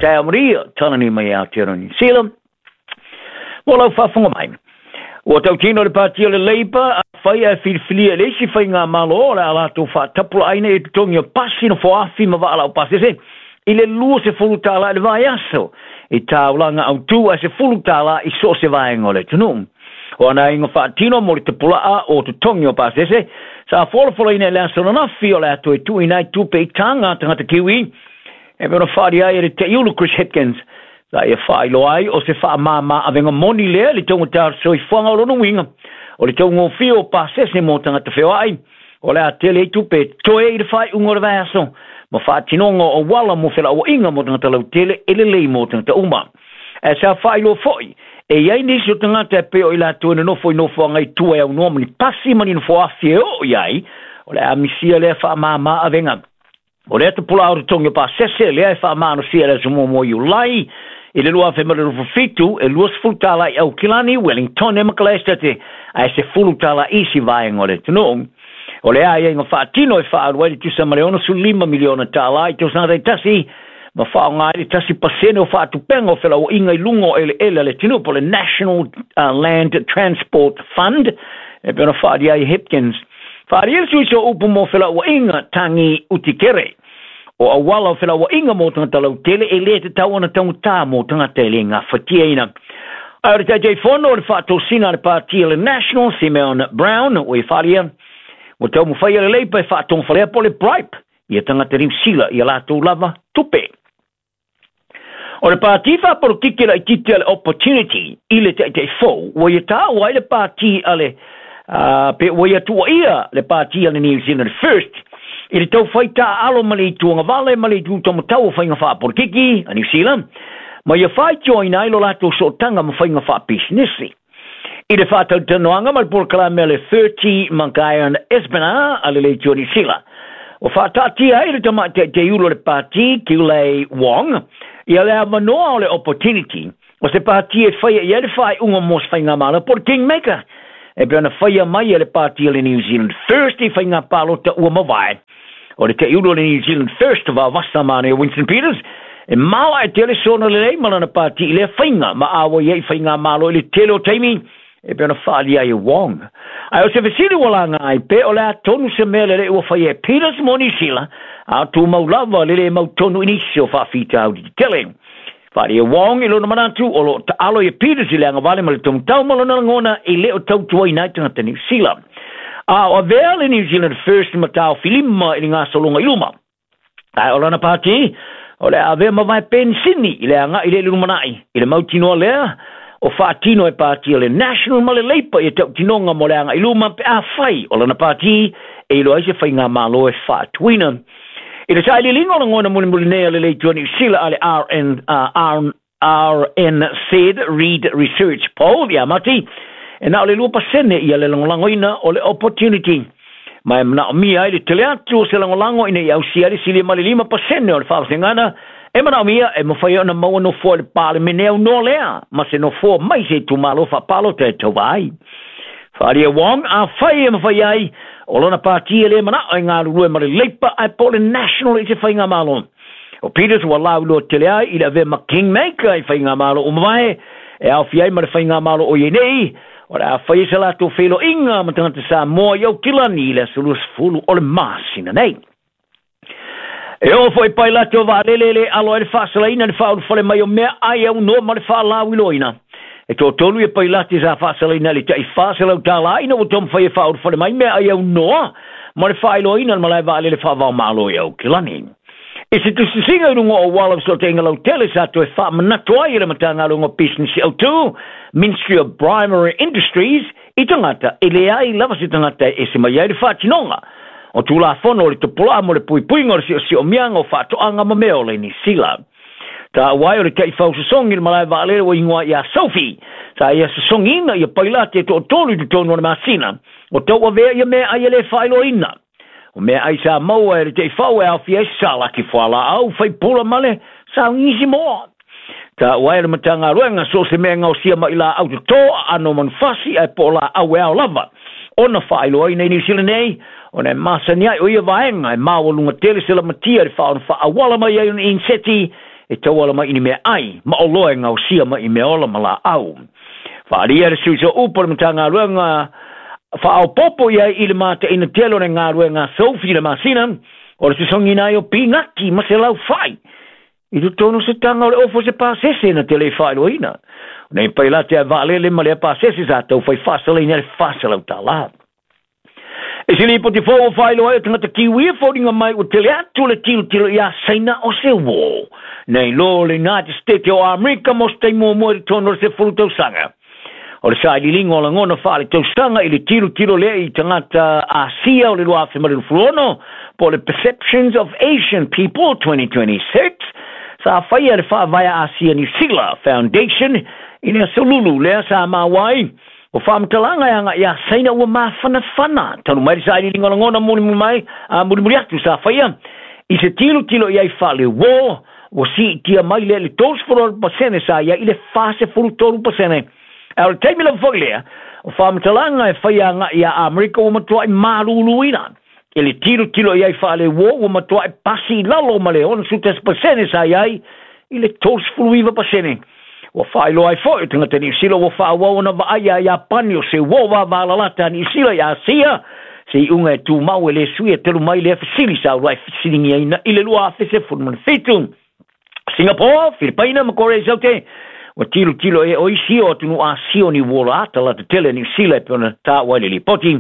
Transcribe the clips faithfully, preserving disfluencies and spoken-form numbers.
Taeao Maria, Talani mai Aotearoa Niu Sila. Mo lau faafofoga mai. Ua tautino le pāti o le Labour, afai ae filifilia e le isi faigamalo o le a latou faatapulaaina i totogi o pasi nofoafi ma vaa laupasese i le luasefulu tālā i le vaiaso i taulaga autū ae sefulu tālā i so o se vaega o le atunuu. O ana aiga faatino mo le tapulaa o totogi o pasese sa folafolaina i le aso ananafi o le a toe tuuina ai tupe i taga a tagata Kiwi e pei ona faaalia ai e le taiulu Chris Hipkins. Sa ia faailoa ai o se faamāmā avega moni lea i le taugata o le soifuaga o lona uiga o le taugofie o pasese mo tagata feoai o le a tele ai tupe e totoe i le faaiuga o le vaiaso ma faatinoga o auala mo felauaiga mo tagata lautele e lelei mo tagata uma. Ae sa faailoa foi e i ai nisi o tagata e pei o i latou e nonofo i nofoaga i tua e aunoa ma ni pasi ma ni nofoafi e oo i ai o le a misia lea faamāmā avega. O lea tapulaa o totogi o pasese lea e faamalosia i le aso muamua o Iulai i le lua afe ma le luafufitu e luasefulu tālā i Aukilani, Wellington ma Kalaesetate ae sefulu tālā isi vaega o le atunuu. O le aiaiga faatino e faaalu ai le tusa ma le onosefulu lima miliona tālā i tausaga taitasi ma faaaoga ai le tasi pasene o faatupenga o felauaiga i luga o eleele a le atunuu po o le National uh, Land Transport Fund e pei ona faaalia ai Hipkins. Faaalia le sui o upu mo felauaiga Tangi Utikere. O auala o felauaiga mo tagata lautele e le tatau ona taugata mo tagata e le gafatiaina. Ae o le Taitaifono o le faatosina a le pāti a le National, Simeon Brown, ua e faaalia ua taumafai a le Labour e faatogafalea po o le bribe ia tagata Niu Sila ia latou lava tupe. O le pāti faapolokiki laitiiti a le Opportunity i le Taitaifou ua ia taua ai le pāti a le uh, pe ua ia tuuaia le pāti a le New Zealand First i le taufai taaalo ma le ituagavale ma le itu taumatau o faiga faapolokiki a Niu Sila ma ia faitioina ai lo latou sootaga ma faiga faapisinisi. I le faatalatalanoaga ma le polokalame a le thirty Magayan Espina a le Leitio Niu Sila, ua faataatia ai le tamaitaitaiulu o le pāti Kilei Wong ia le avanoa o le Opportunity o se pāti e faia i ai le faaiuga mo se faigamalo po o le Kingmaker e pei ona faia mai e le pāti a le New Zealand First i faiga palota ua mavae. O le taiulu o le New Zealand First vavasa manaia Winston Peters e maoae tele sona lelei ma lana pāti i lea faiga ma auai ai faigamalo i le tele o taimi e pei ona faaalia ai e Wong. Ae o se fesili ua laga ai pe o le a tonu se mea lelei ua faia e Peters mo Niu Sila a tumau lava le le mautonu i nisi o faafitauli tetele. Faaalia Wong i lona manatu o loo taalo ia Peters i le agavale ma le taumatau ma lona lagona e le o tautuaina ai tagata Niu Sila. A o avea le New Zealand First ma taofilima i le gasologa i luma. Ae o lana pāti o le a avea mavae penisini i le agai i le lumanai i le mautinoa lea o faatino e pāti o le National ma le Labour ia tautinoga mo le agai i luma pe afai o lana pāti e iloa ai se faigamalo e faatuina. I le sailiiliga o lagona mulimuli nei a le Leitio Niu Sila a le R N, uh, R, R N Z Reid Research Poll ia Mati, e na o le lua pasene ia le lagolagoina o le Opportunity. Ma e manaomia ai le tele atu o se lagolago ina ia ausia ai le silia ma le lima pasene o le faavasegana e manaomia e mafai ona maua nofoa i le Palemene aunoa lea ma se nofoa mai se itumalo faapalota e tauva ai. Faaalia Wong, afai e mafai ai o lona pāti e le manao e galulue ma le Labour ae po o le National i se faigamalo. O Peters ua lauiloa tele ai i le avea ma Kingmaker i faigamalo o mavae e aofia ai ma le faigamalo o iai nei o le a faia se latou feiloaiga ma tagata Samoa i Aukilani i le aso luasefulu o le masina nei. E oo foi pailate o vaalele e le alo ai le faasalaina le faaulufale mai o mea ai aunoa ma le faalauiloaina. E toatolu ia pailate sa faasalaina le tai faaselau tālā ina ua taumafai e faaulufale mai mea ai aunoa ma le faailoaina le malae vaalele faavaomalo i Aukilani. I se tusitusiga i luga o auala o fesootaiga lautele sa toe faamanatu ai e le Matagaluega o Pisinisi Autū, Ministry of Primary Industries, i tagata e leai lava se tagata e ese mai ai le faatinoga o Tulafono o le Tupula'a mo le puipuiga o le siosiomiaga o faatoaga ma mea ola i Niu Sila. Taua ai o le taifausosogi i le malae vaalele ua igoa ia Sophie, sa ia sosogiina ia pailate e toatolu i totonu o le masina, o tauavea ia meaai e le faailoaina. O meaai sa maua e le taifau e aofia ai salaki fualaau, faipula ma le saugisi moa. Taua ai o le Matagaluega so o se mea gaosia mai laau totō aano manufasi ae po o laau e ao lava ona faailoaina i Niu Sila nei, ona e masani ai o ia vaega e maualuga tele se lamatia i le faaona faaauala mai ai ona iniseti E tauala mai i ni meaai ma oloa e gaosia mai i meaola ma laau. Faaalia le suiso upu o le Matagaluega faaopopo i ai i le mataina tele o le galuega sofi i le masina o le sosogiina ai o pinati ma se laufai i totonu o se taga o le ofo o se pasese na te le faailoaina. O nei pailate a vaalele ma lea pasese sa taufai faasalaina ai le fasalau tālā. E se lipoti fou ua faailoa ai o tagata kiwi e foliga mai ua tele atu le tilotilo iā Saina o se uō nei lo le United States o Amerika mo se taimi muamua i totonu o le sefulu tausaga. O le sailiiliga o lagona faaletausaga i le tilotilo lea i tagata Asia o le lua afe ma le luasefulu ono, po o le Perceptions of Asian People twenty twenty-six, sa faia le Faavae Asia Niu Sila Foundation i le aso Lulu lea, sa maua ai o faamatalaga e agaʻi iā Saina ua mafanafana talu mai le sailiiliga o lagona mulimuli mai a mulimuli atu sa faia i se tilotilo i ai faaleuō, ua siitia mai lea i le tolusefulu pasene sa ia i le fasefulu tolu pasene. Ae o le taimi lava foi lea o faamatalaga e faia agaʻi iā Amerika ua matuaʻi maluluina e le tilotilo i ai faaleuō, ua matuaʻi pasi i lalo ma le onosefulu tasi pasene sa iai i le tolusefulu iva pasene. Ua faailoa ai foi o tagata Niusila ua faaauau ona vaai iā Iapani o se uō vavalalata a Niusila i Asia, se iuga e tumau e lē sui e talu mai lea fesili sa uluai fesiligiaina i le lua afe sefulu ma le fitu. Singapore, Filipaina ma Korea i Saute ua tilotilo e o isi o atunuu Asia o ni uō laata lata tele Niusila e pei ona taua ai le lipoti.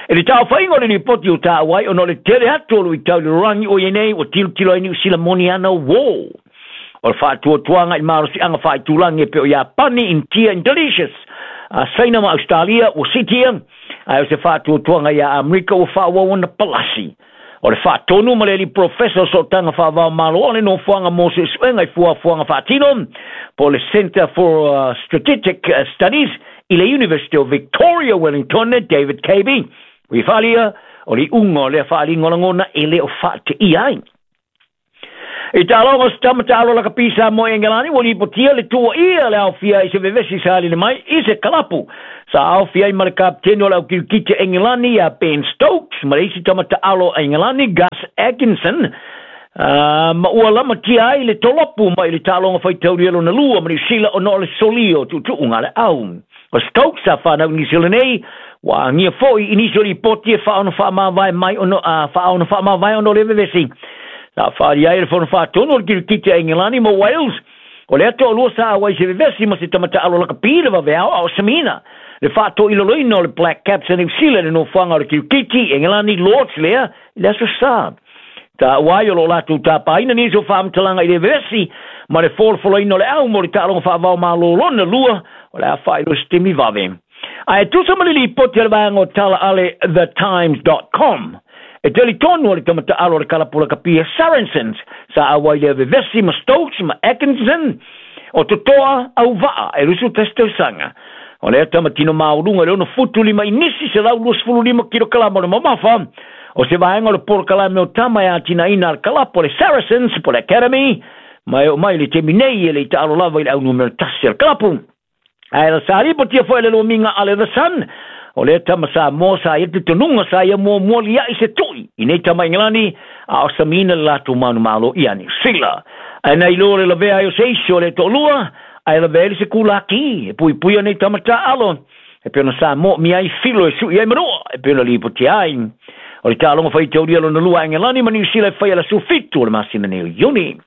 E le taofaiga o le lipoti o taua ai ona o le tele atu o luitau i le lalolagi o iai nei ua tilotilo ai Niusila moni ana uō. O le faatuatuaga i malosiaga faaitulagi e pei o Iapani, Intia, Indonesia, Saina ma Australia ua siitia, ae o se faatuatuaga iā Amerika ua faaauau ona palasi. O le faatonu ma le alii profesa o sootaga faavaomalo o le nofoaga mo suesuega i fuafuaga faatino, po le Centre for uh, Strategic Studies i le University of Victoria, Wellington, David Cabey, ua faaalia o le iuga o lea faaaliga o lagona e le o faateia ai. I taaloga o se tama taalo lakapi Samoa i Engelani ua lipotia le tuuaia le aofia i se vevesi sa alii mai i se kalapu sa aofia ai ma le kapiteni o le aukilukiti Engelani ia Ben Stokes ma le isi tama taalo a Engelani Gus Atkinson, uh, ma ua lamatia ai le tolopu mai le taaloga faitaulia lona lua ma Niusila ona o le solia o tuutuuga a le au. O Stokes sa fanau Niu Sila nei ua agia foi i nisi o lipoti e faaono faamavae mai ono uh, faaono faamavae ona o le vevesi. Sa faaalia ai le fono faatonu o le kirikiti a Engelani ma Wales o le toalua sa auai se vevesi ma se tama taalo lakapi le vaveao a o samiina le faatoiloloina o le Black Caps a New Zealand e nofoaga o le kirikiti Engelani Lords lea i le aso Sa. Taua ai o loo latou tapaina nisi o faamatalaga i le vevesi ma le folofoloina o le au mo le taaloga faavao malo lona lua o le a faailoa se taimi vave. Ae tusa ma le lipoti a le vaega o tala ale The Times dot com, e talitonu o le tama taalo o le kalapu lakapi a Saracens sa auai lea vevesi ma Stokes ma Atkinson o totoa auvaa e lusu tasi tausaga. O lea tama tino mauluga le ono futu lima i nisi se lau luasefulu lima kilokalama o le mamafa o se vaega o le polokalame o tama e atinaina a le kalapu o le Saracens po le Academy, ma e oo mai le taimi nei e le i taalo lava i le au numera tasi a le kalapu. Ae la sa lipotia foi le lomiga ale The Sun o lea tama Samoa sa ia tutunuga sa ia muamua liaʻi se tuʻi i nei tama Engelani a o samiina le latou manumalo ia Niu Sila. Ae na iloa le lavea ai o se isi o le toalua ae lavea ai le se kulaki e puipuia nei tama taalo e pei ona sa moomia ai filo e suʻi ai manua e pei ona lipotia ai. O le taaloga faitaulia lona lua a Engelani ma Niu Sila e faia le aso fitu o le masina nei o Iuni.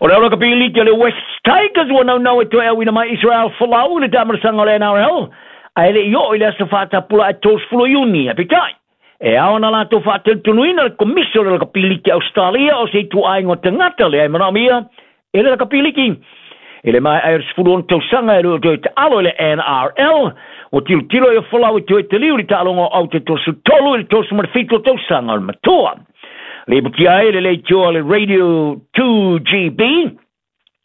O le au lakapi liki o le West Tigers ua naunau e toe auina mai Israel Folau i le taamalasaga o le N R L ae le i oo i le aso faatapula e tolusefulu Iuni. Aepeitai e ao ona latou faatalitonuina le komisi o le lakapi liki Australia o se ituaiga o tagata lea e manaomia e le lakapi liki. I le mae'a ai o le sefulu ono tausaga e le o toe taalo i le N R L, ua tilotilo ai o Folau e toe taliu i le taaloga o au te tolusefulu tolu i le tolusefulu ma le fitu o tausaga o le matua. Lipotia ai le leitioa le Radio two G B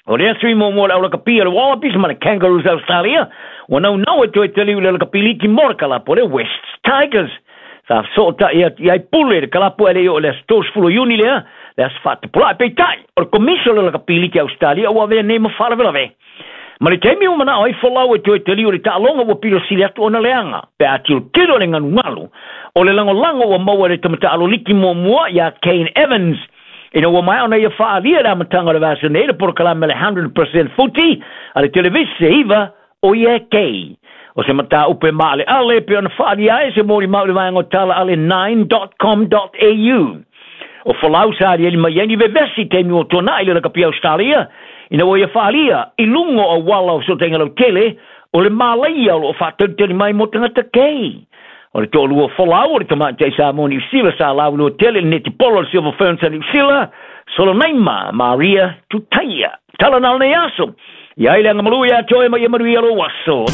o lea sui muamua o le aulakapi o le Wallabies ma le Kangaroos Australia ua naunau e toe taliu i le lakapi liki mo le kalapu o le West Tigers. Sa fesootai atu i ai Pule le kalapu e le i oo i le aso tolusefulu Iuni lea, le aso faatapulaa. Peitai o le komisi o le lakapi liki Australia ua avea nei ma faalavelave. Ma le taimi ua manao ai Folau e toe taliu i le taaloga ua pilo sili atu ona leaga pe a tilotilo le galugalu o le lagolago ua maua e le tama taalo liki muamua iā Kane Evans. Ina ua maea ona ia faaalia i le amataga o le vaiaso nei le polokalame le one hundred percent Footy a le televise iva o ia e kei. O se mataupu e maaleale pe ona faaalia ai se molimau i le vaega o tala ale nine dot com dot A U. O Folau sa aliali mai ai ni vevesi taimi ua tuanai le lakapi Australia ina ua ia faaalia i luga o auala o fesootaiga lautele o le malaia o loo faatalitali mai mo tagata kei. O le toalua Folau o le tamaitai Samoa Niu Sila sa lauiloa tele i le netipolo o le Silver Ferns a Niu Sila, Solonaima Maria Tutaia. Tala na o lenei aso. Ia ai le agamalu ia te oe ma ia manuia lou aso.